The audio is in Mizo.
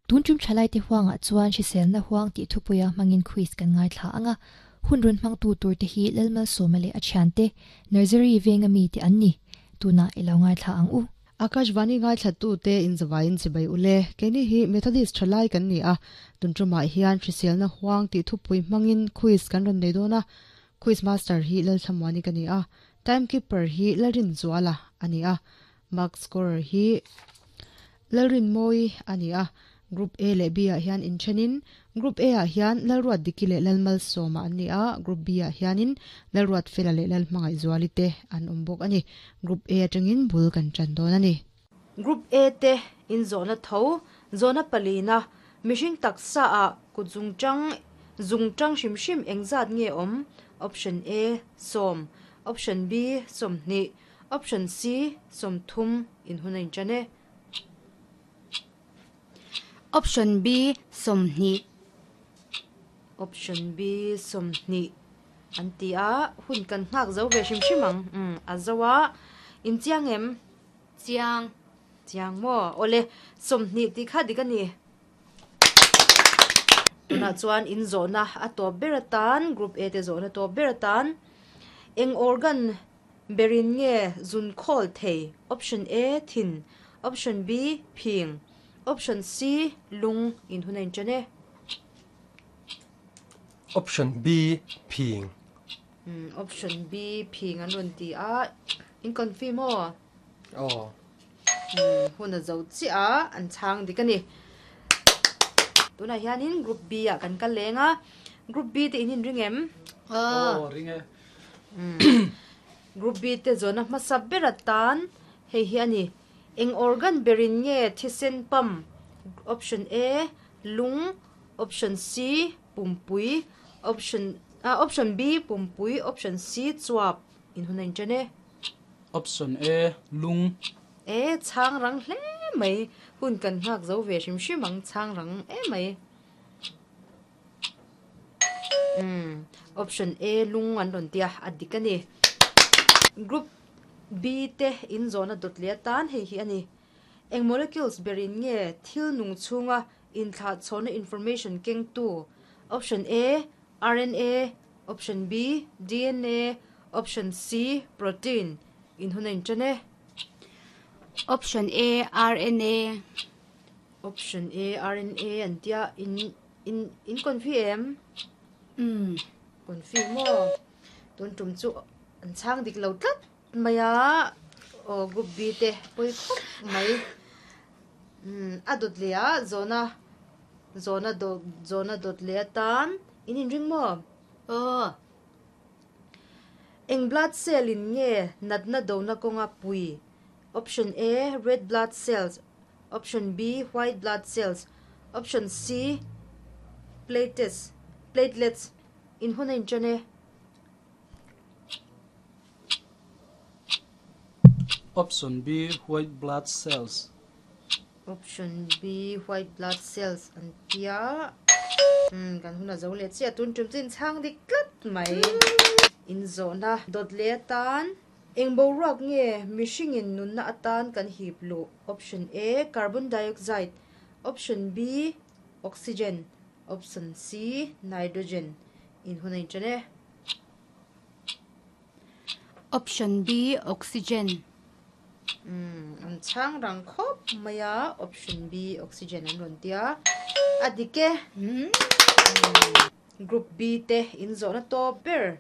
Tun tum thalaite huangah chuan hriselna huang tih thupuia hmangin quiz kan ngaithla anga, hun rawn hmangtu turte hi Lalmalsawma leh a thiante, Nursery venga mite an ni. Tunah i lo ngaithla ang u. Akashvani ngaithlatute inzavaiin chibai ule. Keini hi Methodist thalai kan ni a, tun tumah hian hriselna huang tih thupui hmangin quiz kan rawn nei dawn a. Quiz master hi Lalthlamuani ka ni a, timekeeper hi Lalrinzuala a ni a, mark scorer hi Lalrinmawii a ni a. Group A leh B ah hian inthenin Group A ah hian Lalruatdiki leh Lalmalsawma an ni a, Group B ah hianin Lalruatfela leh Lalhmangaihzuali te an awm bawk a ni. Group A atangin bul kan tan dawn a ni. Group A te inzawhna tho, zawhna palina, mihring taksa ah kut zungtang, zungtang hrim hrim engzat nge awm? Option A, sawm, Option B, 20, Option C, 30 in hun a intan e. Option B, 20. Option B, 20 an ti a, hun kan nghak zo ve hrim hrim ang. Umm, a zo a, in chiang em? Chiang. Chiang maw? Awle, 20 tih kha dik a ni. Tunah chuan in zawhna a tawp ber atan, Group A te zawhna tawp ber atan, eng organ Berin nge zun khawl thei? Option A, thin. Option B, phing. Option C, lung in hun a inṭan e. Option B, phing. Umm, option B, phing an rawn ti a. In confirm aw? Aw. Umm, hun a zo chiah a, an chhang dik a ni. Tunah hianin Group B ah kan kal leng a. Group B te in inring em? Aw, ring e. Group B te zawhna hmasa ber atan hei hi a ni. Eng organ berin nge thisen pump? Option A, lung, Option C, pumpui, Option ah Option B, pumpui, Option C, chuap. In hun a inṭan e. Option A, lung. E, chhang rang hle mai. Hun kan nghak zo ve hrim hrim ang, chhang rang emai. Umm option A lung an rawn tia a dik a ni. Group B te in zawhna dawt leh atan hei hi a ni. Eng molecules berin nge thil nung chhunga inthlahchhawhna information kengtu? Option A, RNA, Option B, DNA, Option C, Protein. In hun a inṭan e. Option A, RNA. Option A, RNA an tia in in in confi em? Umm. Confi maw? Tun tum chu an chhang dik lo tlat mai a, aw group B te pawi khawp mai. Umm a dawt leh a zawhna zawhna dawt zawhna dawt leh atan in inring maw? Aw. Eng blood cell in nge natna dona kawnga pui? Option A, red blood cells, Option B, white blood cells, Option C, platelets, platelets, In hun a inṭan e. Option B, white blood cells. Option B, white blood cells an tia. Umm, kan hun a zo leh chiah. Tun ṭum chu inchhang dik tlat mai. Inzawhna dawt leh atan. Eng boruak nge mihringin nunna atan kan hip luh? Option A, Carbon dioxide. Option B, Oxygen. Option C, Nitrogen. In hun a inṭan e. Option B, Oxygen. Umm, an chhang rang khawp mai a, Option B, Oxygen an rawn tia. A dik e. Group B te inzawhna tawp ber.